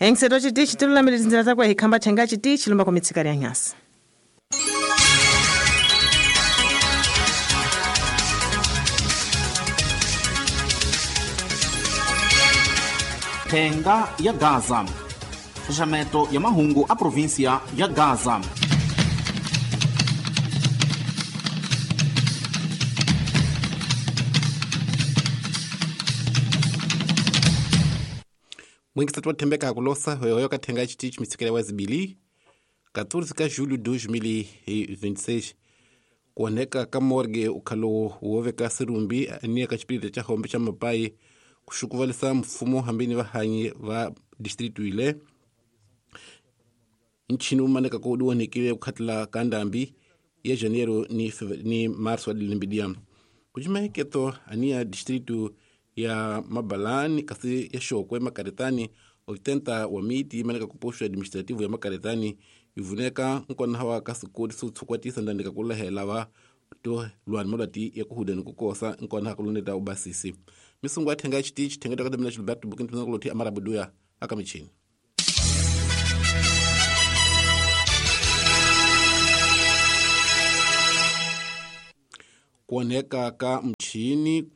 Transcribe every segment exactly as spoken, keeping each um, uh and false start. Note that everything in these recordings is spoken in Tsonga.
Engiseto chitichi tilulamile tinzira takwe hikhamba thenga chitichi lumba kumitsika ya nyasa. Thenga ya Gaza. Xaxameto ya mahungu a província ya Gaza. Mwingisati wa thembeka kulosa hoyohoyo kathenga chitichi mitsikela wa zibili quatorze ka julho dois mil e vinte e seis kuoneka ka morgue ukhalo woveka sirumbi ania ka xipirita xa hombe xa mapai kuxukuvalisa mfumo hambini vahanyi va distrito ile nchini umaneka ko udiwonekile kukhatila ka ndambi ya janeiro ni, ni março wa dilembidia kucimaheketo ania distrito ya Mabalani kasi ya Xokwe Makaretani oitenta wa miti imaneka ku posto administrativo ya Makaretani ivuneka nkona wa ka sikodi so tshukwatisa ndandika kulahela va to lwani molati ya kuhudeni kukosa nkona kuloneta ubasisi misungu athenga chitichi thenga takadamina Gilberto Bukintu nakuloti amarabuduya akamichini. Kuoneka ka mchini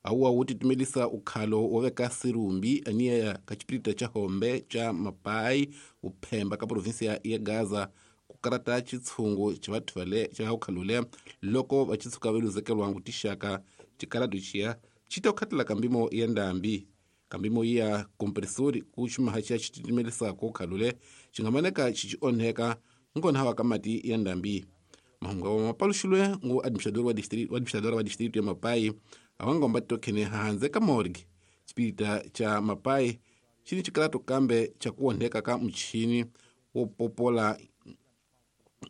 awa wuti tumelisa ukhalo woveka sirumbi ania ka xipirita xa hombe xa mapai uphemba ka província ya Gaza kukarata xitshungu xa vathu vale xa ukhalule loko va xitshuka va luzekelwa tixaka xikaratu xiya xi ta khatela ka mbimo ya ndambi kambimo ya kompresori ku xumaha xa xitimelisa ko ukhalule xi nga maneka xi xi onheka nkona hawa ka mati ya ndambi. Mahungu wa mapaluxilwe ngu administrador wa distrito wa administrador wa distrito ya Mapai awangomba tokhene hanze ka morgue xipirita xa Mapai xi ni xikalato kambe xa ku onheka ka muchini wo popola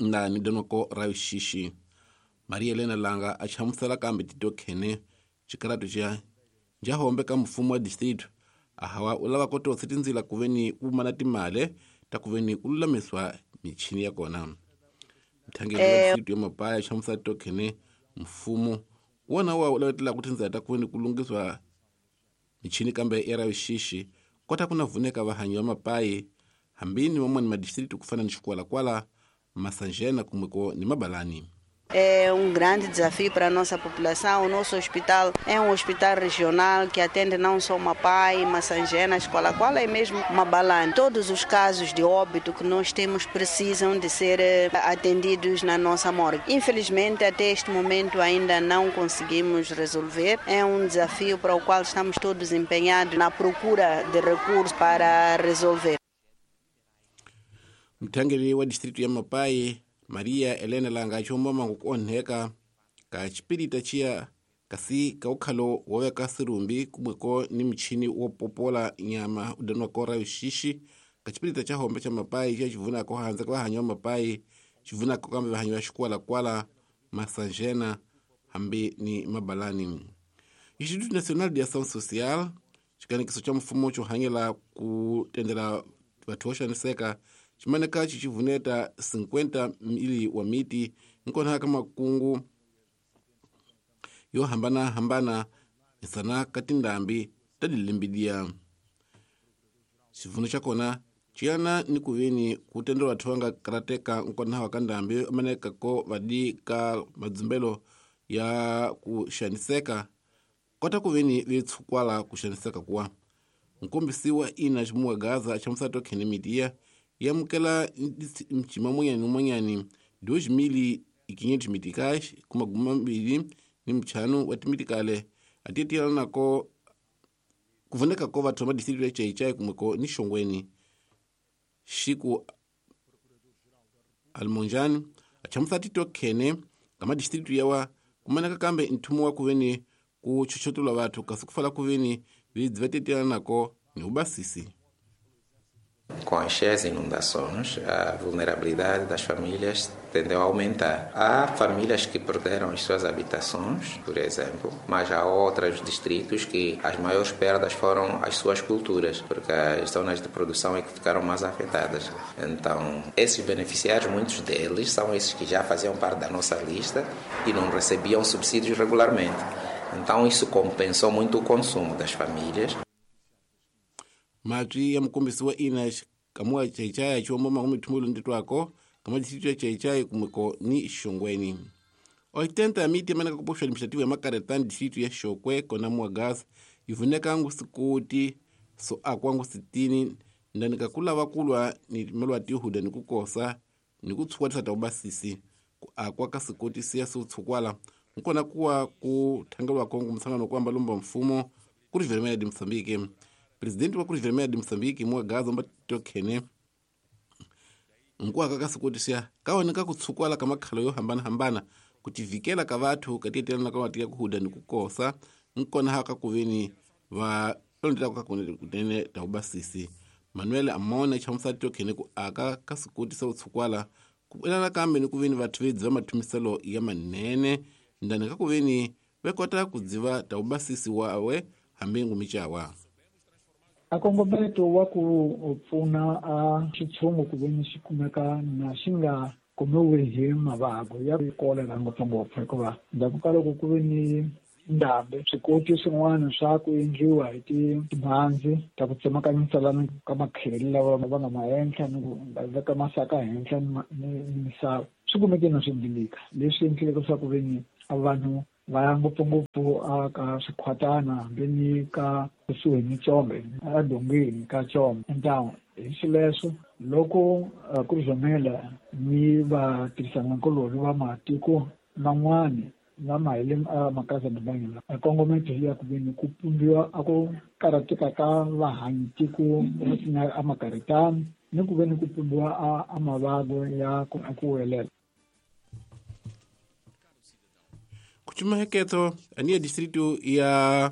ndani donoko ra xixi. Maria Elena Langa a hlamusela kambe titokhene xikalato xa njahombe ka mfumo wa distrito a hawa u lava ku totsa tindzila ku veni ku mana timale ta ku veni ku lulamiswa michini ya kona. Mthangeli wa distrito ya Mapai a hlamusela titokhene mfumo wona wa lavetela ku tindzela ta ku veni ku lunghiswa michini kambe ya ra xixi kota ku na vuneka vahanyi va Mapai hambini van'wani madistrito ku fana ni Xikwalakwala, Massanjena kumbe ni Mabalani. É um grande desafio para a nossa população. O nosso hospital é um hospital regional que atende não só Mapai, Massangena, Escola-Quala e mesmo Mabalane. Todos os casos de óbito que nós temos precisam de ser atendidos na nossa morgue. Infelizmente, até este momento ainda não conseguimos resolver. É um desafio para o qual estamos todos empenhados na procura de recursos para resolver. Mthangeli wa distrito ya Mapai Maria Elena Langa chomba ku onheka ka xipirita xiya kasi ka ukhalo wo veka sirumbi kumweko ni michini wo popola nyama udanwako ra xixi ka xipirita xa hombe xa Mapai xa xivunako handle ka vahanyi va Mapai xivunako kambe vahanyi va Xikwalakwala, Massanjena hambi ni Mabalani. Instituto Nacional de Ação Social xikanekiso xa mfumo xo hanyela ku tendela vathu vo xaniseka ximaneka xi xivuneta cinquenta mili wa miti nkona ka makungu yo hambana-hambana misana ka tindhambi ta dilembidia. Xivuno xa kona xiyana ni ku veni ku tendela vathu va nga karateka nkona wa ka ndhambi maneka ko vadi ka madzumbelo ya ku xaniseka kota ku veni vi tshukwala ku xaniseka kuwa. Nkombisi wa ina ximuwa Gaza hlamusela tokhene midiya yamukela mchima monyani monyani dois mil e quinhentos meticais com maguma mbili ni mchano wa timitikale atitira nako kuvuneka ko vathu va distrito ya Chaichai kumweko ni Xongweni. Xiku Almonjani achamusa titokhene kama distrito yawa kumaneka kambe nthumo wa kuveni ku chuchotolwa vathu kasi kufala kuveni vidzi va titira nako ni ubasisi. Com as cheias e inundações, a vulnerabilidade das famílias tendeu a aumentar. Há famílias que perderam as suas habitações, por exemplo, mas há outros distritos que as maiores perdas foram as suas culturas, porque as zonas de produção é que ficaram mais afetadas. Então, esses beneficiários, muitos deles, são esses que já faziam parte da nossa lista e não recebiam subsídios regularmente. Então, isso compensou muito o consumo das famílias. Matwi ya mukombisi wa ina kamuwa chaichai chiwombo makumi thumulu nditwako kama distrito ya Chaichai kumweko ni Xongweni. oitenta ya miti imaneka kupoxwa administrativo ya Makaretani distrito ya Xokwe kona Muagas ivuneka ngu sikuti so akwangu sitini ndani kakulava kulwa ni melwa tihuda ni kukosa ni kutshwatisa ta ubasisi ku akwa ka sikoti siya siutshukwala nkona kuwa ku thangelwa kongo msangano kwamba lomba mfumo Cruz Vermelha de Moçambique. Presidente wa Cruz Vermelha de Moçambique Muagaza mbatokene nkuaka ka sikoti siya kaoneka kutshukwala ka makhalo yo hambana-hambana kutivikela ka vathu katietelana ka mati ya kuhuda ni kukosa nkona haka kuveni va londela ka kunene ta ubasisi. Manuel Amona chamusati tokhene ku aka ka sikoti sa utshukwala kuelana kambe ni kuveni vathu vedziva mathumiselo ya manene ndani ka kuveni vekota kudziva ta ubasisi wawe hambi ngumichawa. A kongometo wa ku pfuna a xitshungu ku veni xi kumeka na xi nga kumiwi hi mavabyi ya kolera ngopfungopfu hikuva ndzhaku ka loko ku ve ni ndhambi swikoti swin'wana swa ku endliwa hi timhandzi ta ku tsemakanyisa lana ka makheli lawa va nga ma henhla ni ku veka masaka henhla ni misava swi kumeke na swi dilika leswi endleke leswaku ve ni a vanhu va ya ngopfungopfu a ka swikhwatana hambi ni ka kusuhi ni Chombe edongeni ka Chombe ntawu hi xileswo loko Cruz Vermelha ni vatirhisanakulorhi va matiko man'wani lama hi le makaya ya kongometo ya ku veni ku pumbiwa a ku karhateka ka vahanyi tiko a Makaretani ni ku veni ku pumbiwa a a mavabyi ya ku ku welela. Kuchumaheketo aniya distrito ya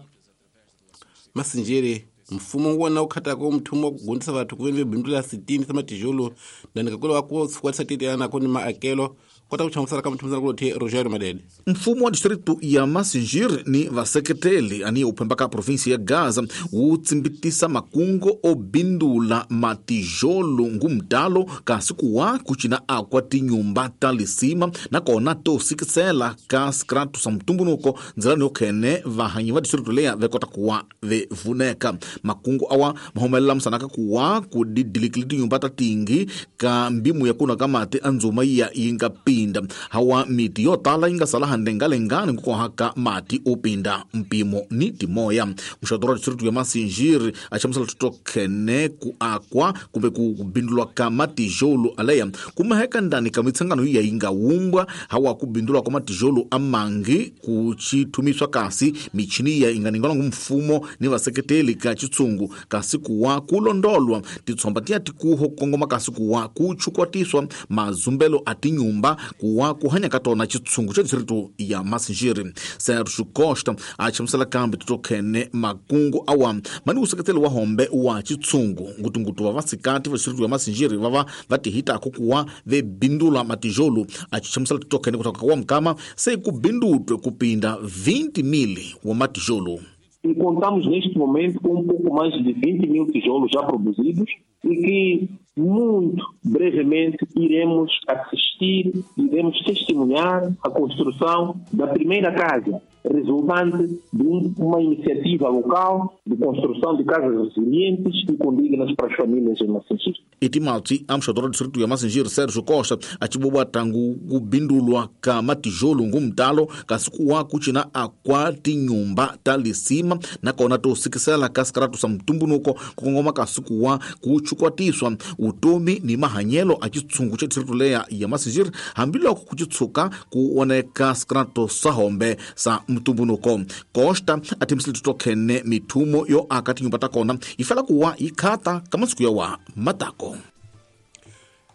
Masinjere mfumo wona ukhatako mthumo wa kugondisa vathu kuveni vebindula sitini sa matijolo ndani kakolo wa ku tshukwatisa titiana koni maakelo kota ku chamusela ka muthumisana kulothe Rogério Madede. Mfumo wa distrito ya Masinjere ni vaseketeli ani uphemba ka provinsi ya Gaza wu tsimbitisa makungo o bindula matijolo ngumdalo kasi kuwa kucina akwa tinyumba ta lisima nakona to sikisela ka skratu sa mtumbunuko ndzilani yokhene vahanyi va distrito leya vekota kuwa vevuneka. Makungu awa mahumelela msanaka kuwa kudidilikili tinyumba ta tingi ka mbimu ya kuna kamati anzuma ya yinga pinda hawa miti yo tala yinga sala handengalengani nkukohaka mati upinda mpimo ni timoya. Mxadoro wa distrito ya Masinjiri achamusala tutokhene ku akwa kumbe kubindulwa ka matijolo aleya kumaheka ndani ka mitsangano iya yinga wumbwa hawa kubindulwa kwa matijolo amangi kuchitumiswa kasi michini ya inganingana ngumfumo ni vaseketeli ka chitsungu kasi kuwa kulondolwa titsomba tiya tikuho kongoma kasi kuwa kuchukwatiswa mazumbelo atinyumba kuwa kuhanya katona chitsungu cha distrito ya Masinjiri. Sergio Costa achamusela kambi tutokhene makungu awa mani useketeli wa hombe wa chitsungu ngutungutu wa vasikati va distrito ya Masinjiri vava vatihitako kuwa vebindula matijolo achichamusela tutokhene kutoka kwa mkama sei kubindutwe kupinda vinte mil wa matijolo. E contamos neste momento com um pouco mais de vinte mil tijolos já produzidos e que muito brevemente iremos assistir, iremos testemunhar a construção da primeira casa, resultante de uma iniciativa local de construção de casas resilientes e condignas para as famílias em Massingir. Itimatsi amxadora distrito ya Massingir Sérgio Costa achiboba tangu kubindulwa ka matijolo ngumtalo kasi kuwa kuchina akwa tinyumba ta lisima nakona to sikisela kasi sa mtumbunuko kukongoma kasi kuwa kuchukwatiswa utomi ni mahanyelo a chitsungu cha distrito leya ya Massingir hambiloko kuchitsuka kuoneka skrato sahombe sa mtumbunuko. Costa atimisile tutokhene mithumo yo aka tinyumba takona ifela kuwa ikhata kamasiku yawa matako.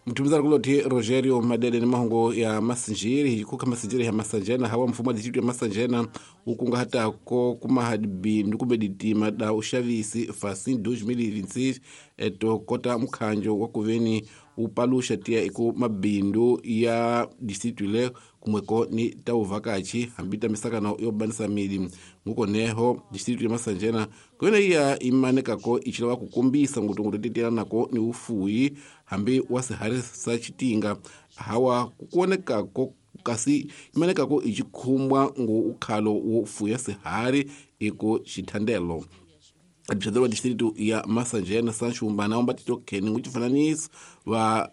Mtumizana kuloti Rogério Madede ni mahongo ya Masinjiri hikuka Masinjiri ya Masanjena hawa mfumo wa distrito ya Masanjena ukunga hata ko kumahadibindu kumbe ditima da ushavisi fasin dois mil e vinte e seis eto kota mkhanjo wa kuveni upalusha tia iku mabindu ya distrito le kumweko ni tauvakachi hambita misakano yobanisa mili nguko neho distrito ya Masanjena kuyona iya imanekako ichilawa kukumbisa ngutungu teteana nako ni ufuyi hambi wasihari sa chitinga hawa kukuonekako kasi imanekako ichikhumbwa ngu ukhalo wo fuya sihari iko chithandelo. Administrador wa distrito ya Massangena Sancho Mbana omba titokhene nguchifananiso va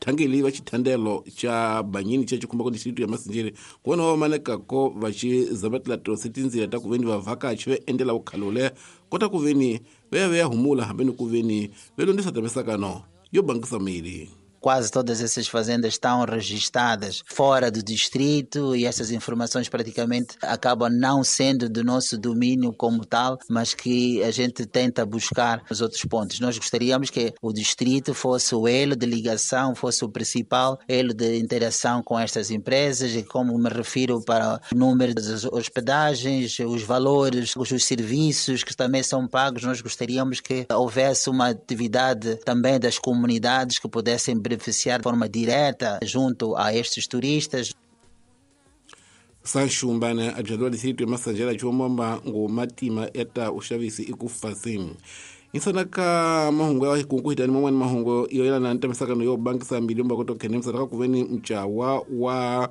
thangeli va xithandelo xa Banyini xa xikhumba ko distrito ya Massangena kona va manekako va xi zamatela tosi tindzila ta ku veni vavhakachi va endlela vukhalule kota ku veni va ya va ya humula hambi ni ku veni va londzisa tamisakano yo bangisa miri. Quase todas essas fazendas estão registradas fora do distrito e essas informações praticamente acabam não sendo do nosso domínio como tal, mas que a gente tenta buscar nos outros pontos. Nós gostaríamos que o distrito fosse o elo de ligação, fosse o principal elo de interação com estas empresas e, como me refiro, para o número das hospedagens, os valores, os serviços que também são pagos. Nós gostaríamos que houvesse uma atividade também das comunidades que pudessem beneficiar de forma direta junto a estes turistas. Sancho Mbana, administrador distrito ya Massangena chomamba ngo matima eta uxavisi ikufasini. Insana ka mahungu ya kunkuhitani man'wani mahungu yo yelana na ntamisakano yo bangisa mbilu mba koto khene msana ka kuveni mchawa wa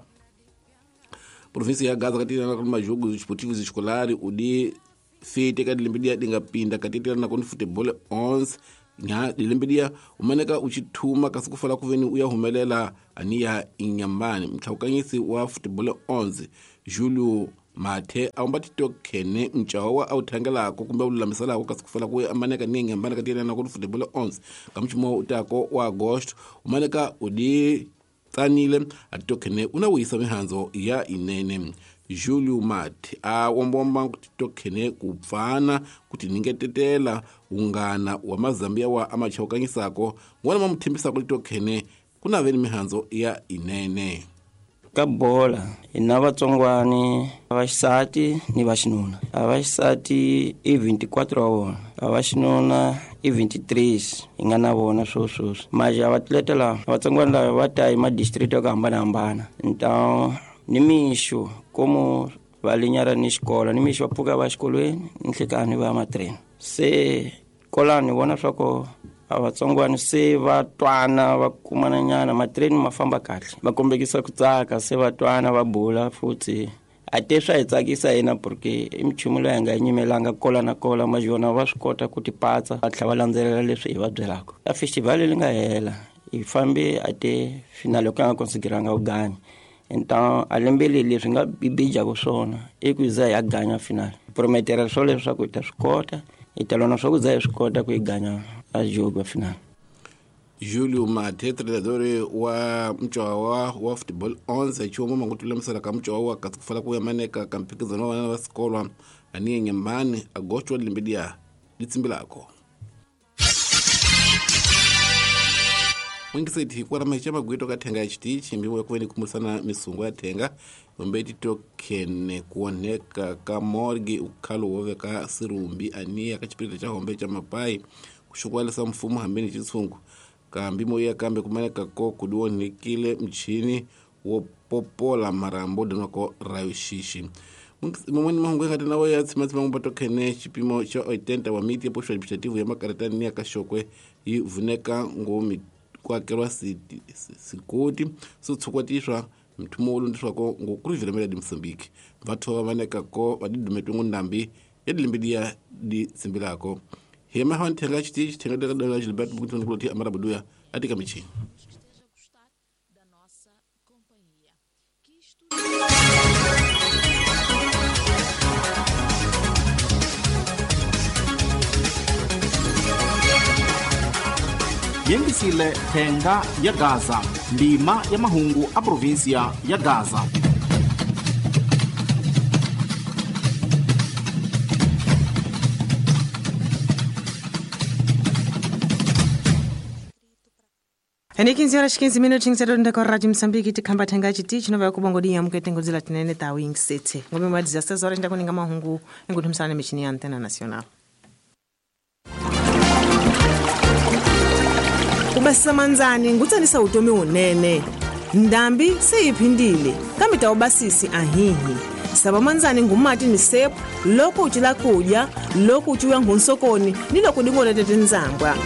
província ya Gaza katilana ka majogo esportivos escolares udi fete ka dilembe dia dinga pinda katilana ku futebol onze nya dilembe umaneka uchithuma kasi ku fala ku veni uya humelela aniya inyambani mtlhawukanyisi wa futebol onze Julio Mathe a umba titokhene mchawa wa a wu thangelako kumbe wu lulamiselako kasi ku fala ku amaneka ni inyambani katilana ku futebol onze ka mchumo utako wa agosto umaneka udi tsanile a titokhene una wuyisa mihandzo ya inene. Julio Mathe a wombomba titokhene ku pfana kuti ningetetela ungana wa mazambia wa amachawukanyisako ngwana ma muthembisako titokhene ku na veni mihandzo ya inene. Ka bola hi na vatsongwani va xisati ni va xinuna. A va xisati i veinticuatro wa vona, a va xinuna i veintitrés hi nga na vona swo sweswi. Maje a vatleta lava vatsongwani lava va ta hi madistrito ya ku hambanahambana. Então ni mixo como va linyara ni xikolo, ni mixo va pfuka va xikolweni ni nhlekani va ya matreni. Se kolani vona swa ku a vatsongwani se va twana va kumana nyana matreni ma famba kahle, va kombekisa ku tsaka se va twana va bula futhi. A te swa hi tsakisa hina porque i minchumu leyi hi nga yi nyimelanga kola na kola, majona va swi kota ku tipatsa va tlhela va landzelela leswi hi va byelaka. A festival leyi nga hela hi fambe a te finale ku nga konsideranga ku ganya. Então a lembe leri leswi nga bibijaka swona i ku za hi ya ganya finale. Prometera swo leswaku hi ta swi kota, hi ta lona swa ku za hi swi kota ku hi ganya a jogo final. Julio Mathe, treinador wa mchawa wa futebol onze chumo mangutulamisela ka mchawa wa kasi kufala ku ya maneka ka mphikizano wa vana va sikolwa aniye nyambani agosto wa lembe dia litsimbilako. Mwingiseti kwa ramahicha magwito ka thenga ya chitichi mbimo ya kuveni kumusana misungu ya thenga ombe titokhene kuoneka ka morgue ukhalo woveka sirumbi aniya ka chipirita cha hombe cha mapai kushukwalisa mfumo hambeni chitsungu kambi moya kambe kumaneka ko kudiwonekile mchini wo popola marambo danwako rayo xixi. Mamweni mahungu ya ngati nawo ya tsimatsima ngumba chipimo cha oitenta wa miti ya posto administrativo ya makaretani ya kashokwe yi vuneka ngomi kuakelwa sikoti sotshukwatiswa mthumo wo londiswako ngokuruviramela di Mozambique vatho va maneka ko va didumetwe ngundambi ya dilembe dia di tsimbilako. Hema ha nthenga chitichi thenga deka dela Gilberto Bukutoni kuloti amarabuduya atika michini. Yengisile thenga ya Gaza, ndima ya mahungu a província ya Gaza. Ene quinze horas quinze minutinhos era com a Rádio Moçambique tikhamba thenga chitichi nova yakubongodia mukete ngodzila tinene ta wing city ngome ma dezesseis horas ndakuninga mahungu enguthumisana michini ya Antena Nacional. Ubasisa manzani ngutsanisa utomi unene ndambi seyiphindile kambe tawubasisi ahihi saba manzani ngumati ni sepu loko uchila kudya loko uchiwa ngunsokoni ni loko dingona tetinzambwa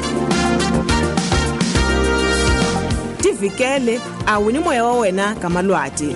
tivikele awini moya wa wena ka malwati.